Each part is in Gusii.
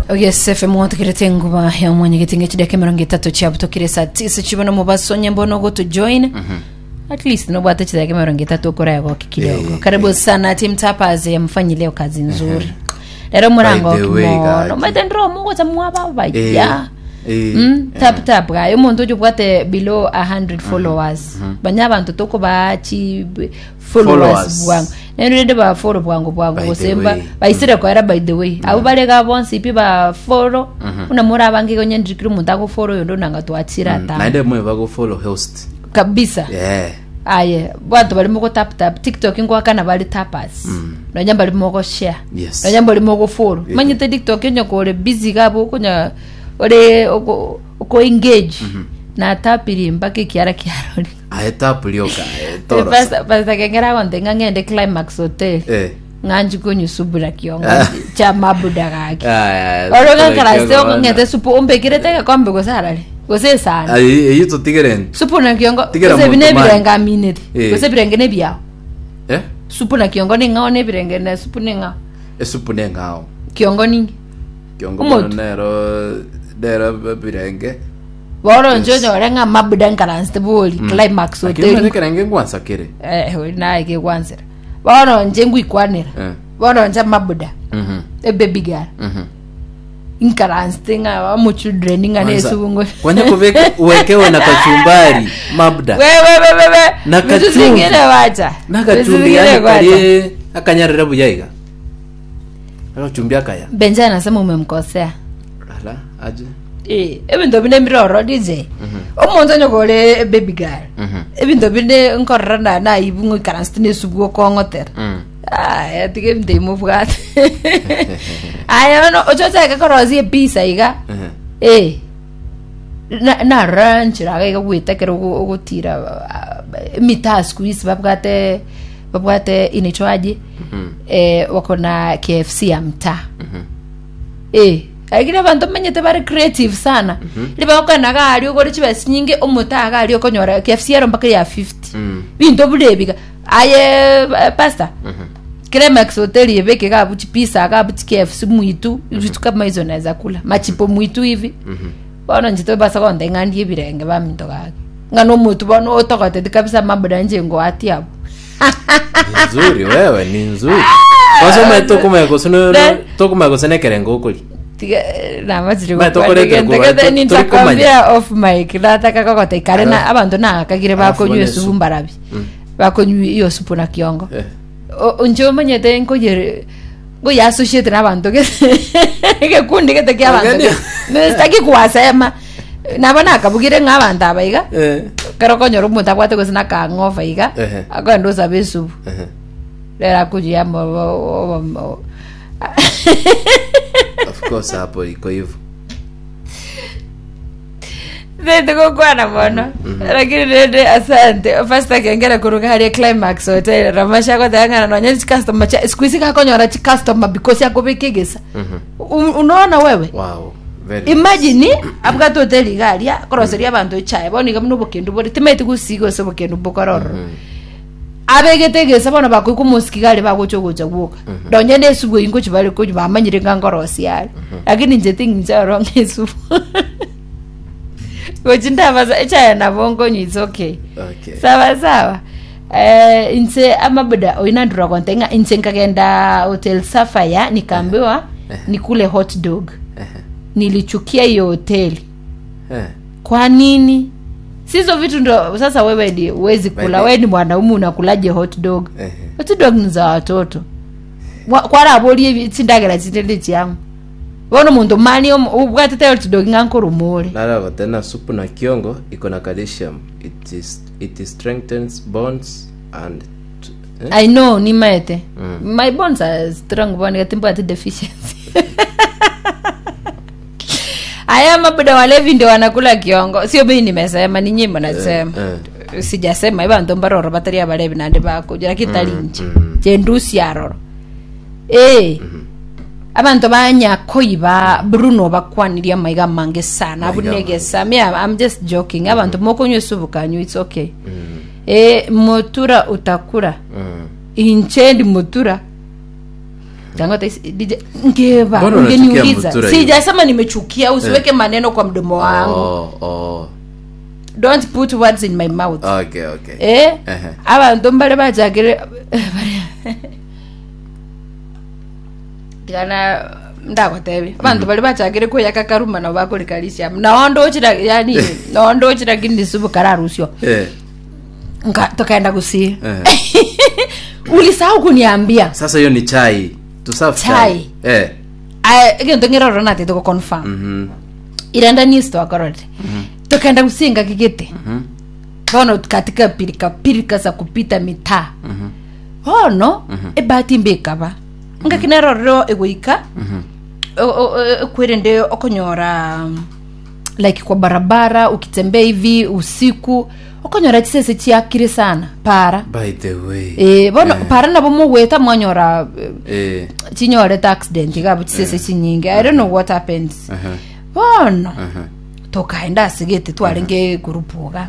Ogesefe mwotekerete enguba ya omwanyegeti ng'echidaka 30 chiabutokire saa tisa chibono mobaso onye mbono ogotojoin at least nobwate chidaka 30 okoraegoki kidogo Eh, karibu eh. sana team tappers eh, mfanyi leo kazi nzuri lero murango By the way, kimono gaki. maite ndiro mugocha mwaba baya Eh, Mm, eh. tap tap gaye omonto oyo obwate below 100 followers banya abanto tokobaa chi b- followers Followers. bwango nero rende ba follow bwango bwango By the gose mba way. baisire koera by the way abo barega bonsi pi ba follow buna more abange igo onye ndiri kera omonto agofollow oyonde onanga twachire atano naende moe bagofollow host kabisa yeah. aye banto bari mogo tap tap tiktok ngoakana bari tappers nonya mbari mogo share Yes. nonya mbari mogo follow Yeah. manyete tiktok onye kore busy gabo okonya ore oko oko engage na tapiri mpaka ekiara kiarori aye tap rioka eh, torosa Pastor Pastor Kengera agonte ng'a ng'ende Climax Hotel Eh. ng'anchi konywa supu na kiongo cha mabuda gaki Aya, oro aya, ng'akarase kiongo ong'ete supu ombekirete egekombe gose arare gose esani Aye, eyio totigere ntu supu na kiongo Tigera gose ebi monto mani. nebirenge amineti Eh. gose ebirenge nebiao eh supu na kiongo ning'ao nebirenge na supu ning'ao esupu neng'ao kiongo ningi kiongo Omotu. bono nero nero birenge Bono inche Yes. onyore ng'a mabuda nkaransete bori climax Lakini omanyete hoteli ekerenge ngwansa kere eh ori naye kegwansera bono inche ngwikwanera Eh. bono inche mabuda Mhm. ebaby girl Mhm. nkaransete ng'a amochildren ng'a Kwanza, nesubungo kwanya kubeka uwekewe na kachumbari mabda wewewewewe Na vitu kachumvi. zingine wacha na Vitu kachumbi zingine yani wacha. kari akanyarire buya iga akachumbi akaya Benja anasema umemkosea ala aje Eh, ebinto binde mbiroro dj omonto onye kore baby girl ebinto binde nkorora na naibu ng'oikaranse nesubu okong'otera aya tiga ebinto ebi mobwate aya bono ochochake korosia episa iga eh na- narora nchera iga iga gweta ekero ogo- ogotira ah, emitaa siku hizi babwate babwate inaitwaje eh, wako na kfc ya mtaa Eh, lakini abanto manyete bare creative sana riba okogenda iga aria ogore chibesa chinyinge omotaa iga aria okonyora KFC ero mpaka ya 50 binto buna ebi iga aye eh, pastor Climax hotel ebeke iga abwo chipizza iga abwo chi KFC mwitu vitu kama hizo naeza kula machipo mwitu hivi bono inche tobasa gontebia ng'a ndie ebirenge baminto gaki ng'a na omotu bono otogoteti kabisa mabuda inche ngoatia abwo Ni nzuri wewe ni nzuri kwanza ume tokumanya gose no- Ne- tokumanya gose nekerengo okori Tiga- namachire Ba, tokorete gokwana kuba, gento to- nitakwambia off mic nataka kogota ikare na Alafu- abanto nagakagire alafu bakonywa bone esupu supu. mbarabi bakonywa iyo supu na kiongo Eh. O- inche omanyete nkoyere nkoyassociate na abanto gete egekundi gete kia abanto Ogeni- gete. Me sitaki kuwasema nabo nakabugire ng'a abanto aba iga Eh. ekero okonyora omonto abwate gose na akang'ofa iga Ehe. akogenda osaba esupu Ehe. rero akoyia amo of course hapo iko hivyo Sente gokwana mono lakini rende asante pastor kengera kuruga haria climax hotel ramasha goteba ng'a nonya chicustomer chia siku hizi gakonyora chicustomer because akobeka egesa unaona wewe wow very imagine abwate hoteli iga aria akoroseria abanto echae bono iga buna obokendu bore timaeti gosiga ase obokendu bokorororo Abegete egesa bono bakoigwa omosiki iga aria bagocha ogocha gwoka. Nonya na esubu eyio ngochia bare konywa bamanyire ng'a nkorosia are. Lakini inche ting'incha oro ng'a esubu. Gochi ndabasa echae nabo nkonywa it's okay. Okay. Sawa sawa. Eh, inche amabuda oyo nandura gonte ng'a inche nkagenda Hotel Sapphire nikaambiwa nikule hot dog. Nilichukia hiyo hoteli. Eh. Kwa nini? Si hizo vitu ndo sasa wewe ni huwezi kula. By the- Wewe ni mwanaume unakulaje hot dog? Ehe. Hot dog ni za watoto. Wa- Kwaraborie ebi- chindagera chinde ndi chiang'o. Bono omonto mani omo- obwatete hot dog ng'a nkoromore. Narago tena supu na kiongo iko na calcium it is it strengthens bones and t- eh? I know nimaete. My bones are strong bono timbwati deficiency. Aya mabuda walevi ndio wanakula kiongo. Sio mimi nimesema, ni nyinyi mnasema. Eh, Sijasema ibanto mbaroro batari abalevi nande bakuja lakini tari inche. Chendusi aroro. Eh. Abanto banyakoiba Bruno bakwanirie amaiga amange sana Maiga amange. abunegesa me I'm, I'm just joking abanto mokonywa esubu kanywa it's okay eh motura utakura Mm. inche ndi motura. Tangote DJ ngeva Mbona unachukia ungeniuliza Mutura hiyo? sijasema nimechukia usiweke maneno kwa mdomo wangu Oh, oh. don't put words in my mouth Okay, okay. eh Ehe. abanto mbare bachakire tigana ndagotebia abanto bari bachakire kweyaka karuma nabo bakorika nao ndochira yani nao ndochira kindi subu kararusio Eh. Nka- tukaenda gusii Eh. ulisahau kuniambia Sasa hiyo ni chai. To serve chai. Chai. Eh. Aya, egento ng'eroro natete goconfirm Mhm. irenda news twakorore tukaenda gusinga kigete bono katika pirika pirika za kupita mitaa bono ebahati mbe ekaba ngaki nerorero egoika ekwerende okonyora like kwa barabara ukitembea hivi usiku okonyora chisese chiakire sana para By the way. eh, bono para nabo mogweta mwanyora Eh. chinyorete accident igabo chisese chinyinge i don't know what happens Aha. bono Aha. tokaenda asigete twarenge kurupuga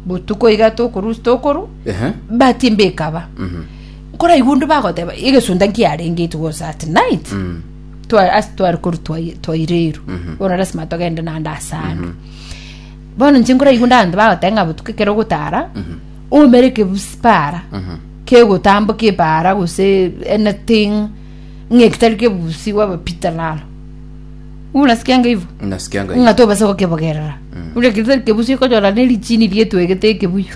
butuko iga tokoru tokoru Aha. bahati mbe ekaba nkora igundu bagoteba egesunda nkiarenge it was at night Twa- ase twari koru twaireru bono lasima togende naende asande bono inche nkora igundu abanto bagoteba ng'a botuko ekero ogotara oumere ekebusi para kegotamboka epara gose anything ng'a ekitari kebusi wabapita naro unasikianga hivyo Nasikianga hiyo. ng'a tobasa gokebogerera ure kitari kebusi okonyora na erichini rietwegete ekebuyu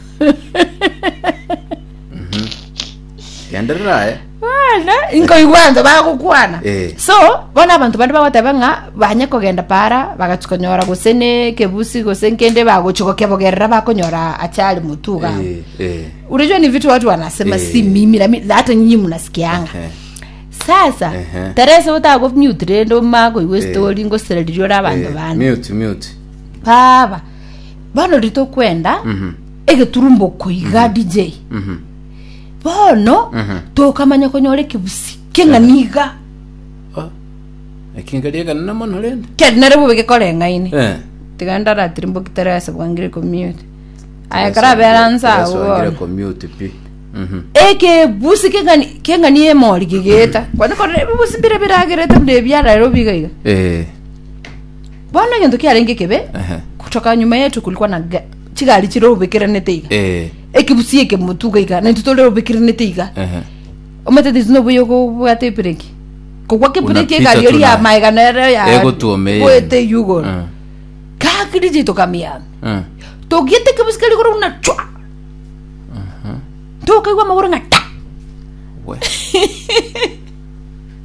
Genderera eh. bana nkoigwa abanto bagokwana Eh. so bono abanto bande bagoteba ng'a banye kogenda para bagachi konyora gose ne ekebusi gose nkende bagochi gokebogerera bakonyora achari mutuga Eh, eh. unajua ni vitu watu wanasema Eh. si mimi na mi- hata nyinyi mnasikianga Eh. sasa Ehe. teresa otago mute rende omakoigwa Eh. story ngosereririe ore abanto Eh, bande Mute, mute. baba bono ritokwenda egeturumbo koiga dj Mhm. bono tokamanya konyora ekebusi keng'aniga Oh. Ekingaria kanene mono rende. keri nere bobe gekoreng'aine Eh. tiga ndaratirimboki teresa bwangire commute aya karabera nsa Teresa wangire bono commute pi. Mhm. ekebusi keng'ani keng'ani emori kegeta kwani kore ebibusi mbire biragerete buna ebiararero biga iga Eh. bono egento kiarenge kebe Ehe. kutoka nyuma yetu kulikuwa na chigari chirobekeranete iga Eh. ekebusi ekemotuga iga naintwe tore iga Ehe. omanyete nobuya okobwata ebireki kogwa kebireki Unapita egari tu eri ya na- maega nere ya Egotuomeire. goete igoro Mm. kakirije tokamiame Mm. togiete kebusi keri igoro buna chwa tokaigwa amagoro ng'a ta We.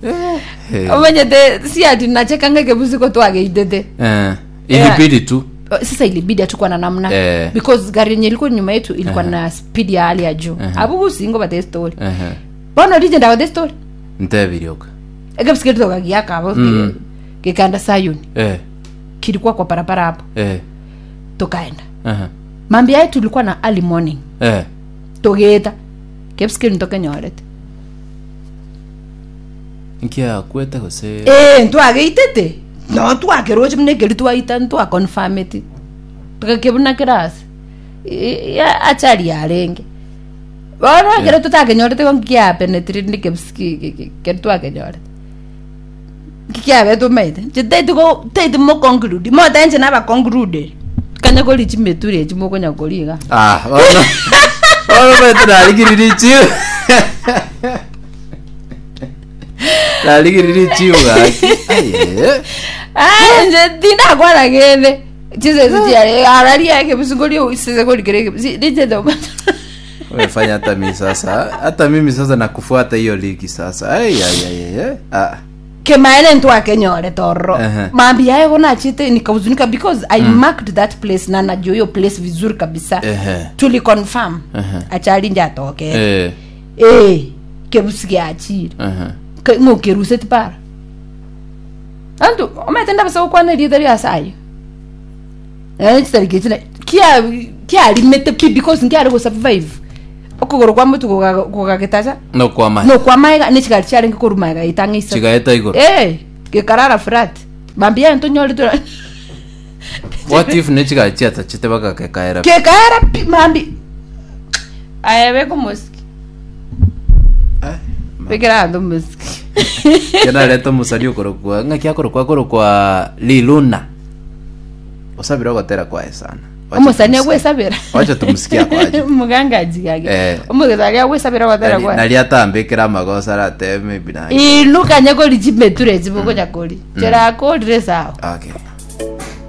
Eh. omanyete si ati nachekanga kebusi ko twageitete Eh. Ilibidi tu. Sasa ilibidi hatukuwa na namna Eh. because gari yenye ilikuwa nyuma yetu ilikuwa na speed ya hali ya juu abugusingo bate story Ehe. bono rije ndawa story Ntebirioka. ekebusi keri tokagiaka abo gikaenda sayuni Eh. kilikuwa kwa barabara hapo Eh. tukaenda Aha. mambi yae tulikuwa na early morning Eh. tugita kebusi ntokenyorete Nkia kwete gose. eh ntwageitete no twakeroche buna ekeri twaita ntwaconfirmeti tukakebuna kirasi ya achari yarenge bono ekero tutakenyorete ko nkiapenetire ndi kebusi keri twakenyorete kikiabete omaete nche taiti taiti moconclude motainche nabaconclude kanya kori chimeture echi mokonya koriga Ah, bono. Bono bete narigiriri chiu. Narigiriri chiu gaki. Aye. Ah, nje tindakwana gende chisese chiare araria ekebusi kori sese kori kere ekebusi ndichete Umefanya hata mimi sasa. Hata mimi sasa nakufuata hiyo ligi sasa. Ai ai ai ai. Ah. kemaene ntwakenyore torro Ehe. mambi yae konachite nikahuzunika because i marked that place na najua hiyo place vizuri kabisa Ehe. tuli confirm Ehe. achali njatokere Eh. eh kebusi giachire Ehe. ng'okeruseti para antu omete ndabasa gokwana erieta ria asayo chitariki china kia kiarimete pi because nkiari gosurvive okogoro kwa motu gogagetacha No kwa ma. no kwa maega ni chigari chiarenge korwa maega itang'isa Chigaeta igoro. eh gekarara flat bambia ntonyore tura What if ne chigachi atachete bakakekaera. kekaera pi mambi aya beko mosiki Eh, Bekera abanto omosiki. Kenareta omosani okorokwa ng'aki akorokwa akorokwa Liluna. Osabire ogotera kwaye sana. Wacha Omosani tumsikie. agwesabera. Wacha tumsikie akwaje. Muganga ajigage. Eh. Omogesa aria agwesabera ogotera Nari kwaye. nari atambekera amagoso aratebe maybe nange. Inu kanya kori chimeture chibokonya kori. Chera akorire sawa. Okay.